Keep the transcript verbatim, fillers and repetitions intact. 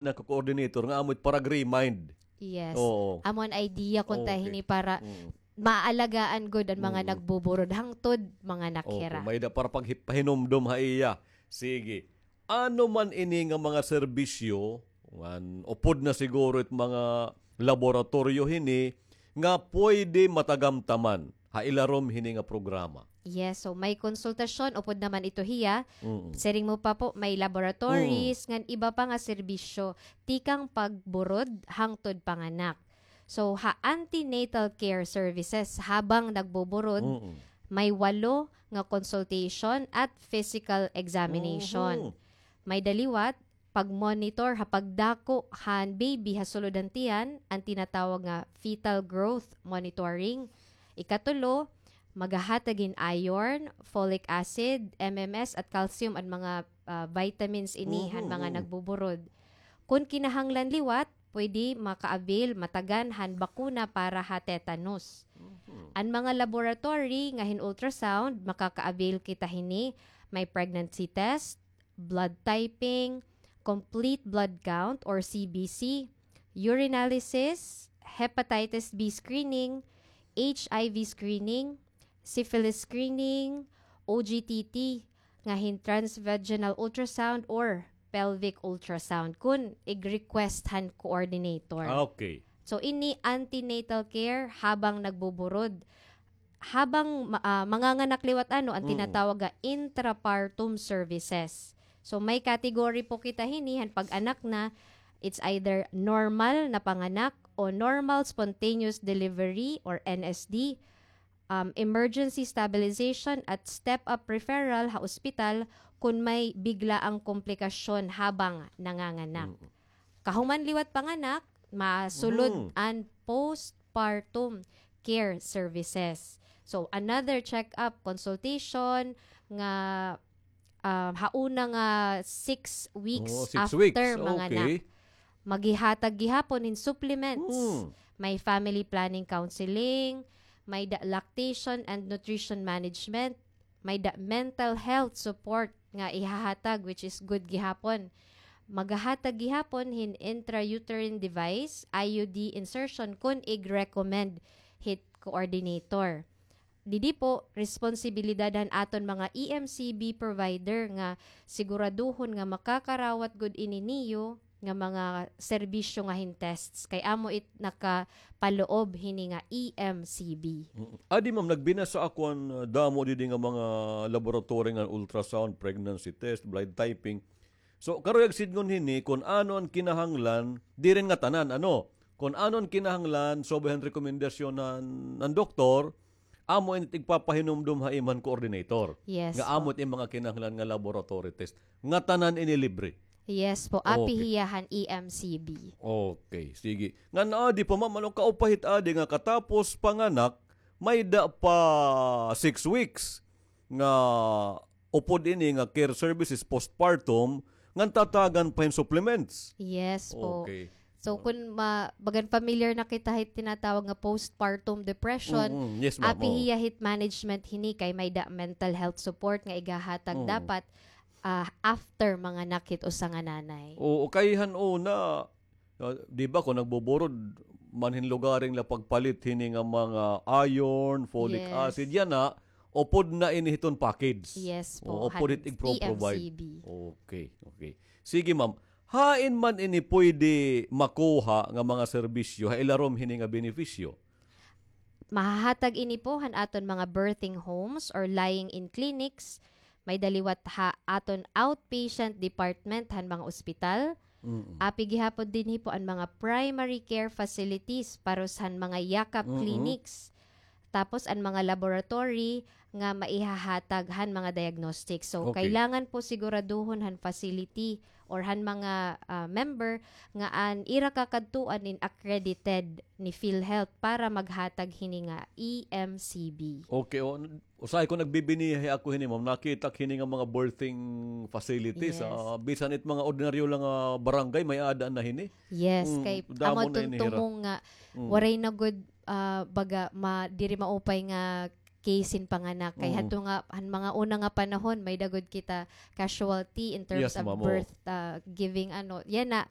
naka-coordinator nga amo it para remind. Yes. Oo. Amo an idea kun ta hini para maalagaan gud an mga nagbuburod hangtod manganak hira. Mayda para pagpahinumdom ha iya. Sige. Ano man ini nga mga serbisyo, ngan upod na siguro it mga laboratoryo hini nga pwede matagamtaman ha ilarom hini nga programa. Yes, so may konsultasyon, upod naman ito hiya. Siring mo pa po, may laboratories, ngan iba pa nga serbisyo, tikang pagburod hangtod panganak. So, ha antenatal care services, habang nagbuburod, may walo nga consultation at physical examination. May daliwat, pag-monitor ha pagdako han baby ha sulod han tiyan, an tinatawag nga fetal growth monitoring. Ikatulo, maghahatag hin iron, folic acid, M M S at calcium an mga, ah, vitamins ini han mga nagbuburod. Kun kinahanglan liwat, pwede maka-avail matagan han bakuna para ha tetanus. An mga laboratory nga hin ultrasound, makaka-avail kita hini, may pregnancy test, blood typing, complete blood count or C B C, urinalysis, hepatitis B screening, H I V screening, syphilis screening, O G T T, nga hin transvaginal ultrasound or pelvic ultrasound kun ig-request han coordinator. Ah, okay. So, ini antenatal care habang nagbuburod. Habang ma-, ah, manganganak liwat ano, an tinatawag nga intrapartum services. So, may category po kita hini, han pag-anak na, it's either normal na panganak o normal spontaneous delivery or N S D, um, emergency stabilization at step-up referral ha ospital kun may biglaang komplikasyon habang nanganganak. Kahuman liwat panganak, masulod an postpartum care services. So, another check-up, consultation, nga, um, ha una nga six weeks after manganak. Maghihatag gihapon hin supplements. May family planning counseling, may da lactation and nutrition management, may da mental health support nga ihahatag, which is good gihapon. Maghahatag gihapon hin intrauterine device, I U D insertion, kun ig-recommend hit coordinator. Didi po, responsibilidad han aton mga E M C B provider nga siguraduhon nga makakarawat gud ini niyo nga mga serbisyo nga hin tests. Kay amo it nakapaloob hini nga E M C B. Adi, ma'am, nagbinasa ako an, uh, damo didi nga mga laboratory nga ultrasound, pregnancy test, blood typing. So, karuyag sidngon hini kun ano an kinahanglan, diri ngatanan, ano, kun ano an kinahanglan, subay han rekomendasyon han, han doktor, amo ini it igpapahinumdom ha imo han coordinator. Yes, nga amo it mga kinahanglan nga laboratory test. Ngatanan ini libre. Yes po, api hiya han E M C B. Okay, sige. Ngan adi pa, ma'am, ano, kaupay hit adi nga katapos panganak, may da pa six weeks nga upod ini nga care services postpartum, ngan tatagan pa hin supplements. Yes po. Okay. So, kun ma-, bagan familiar na kita hit tinatawag nga postpartum depression, api hiya hit management hini kay may da mental health support nga igahatag dapat, ah, after manganak hit usa nga nanay. Oo, kay han una, ah, di ba, kun nagbuburod, manhinlugaring la pagpalit hini nga mga iron, folic acid, yana, upod na ini hiton package. Yes po, upod hit igpro-provide. Okay, okay. Sige, ma'am. Hain man ini pwede makuha nga mga serbisyo ha ilarom hini nga benepisyo? Mahahatag ini po han aton mga birthing homes or lying-in clinics. May da liwat ha aton outpatient department han mga ospital. Api gihapon dinhi po an mga primary care facilities, parehas han mga yakap clinics. Tapos an mga laboratory nga maihahatag han mga diagnostics. So, kailangan po siguraduhon han facility or han mga, ah, member nga an ira kakadtuan in accredited ni PhilHealth para maghatag hini nga E M C B. Okay, o, usahay ko nagbibinihi ako hini, ma'am. Nakita ko hini nga mga birthing facilities, ah, bisan it mga ordinaryo lang nga barangay, may-ada na hini. Yes, kay amo tumong nga waray na gud, ah, baga, ma-, diri maupay nga case hin panganak. Kay hadto nga, han mga una nga panahon, may da gud kita casualty in terms of birth, ah, giving, ano, yana,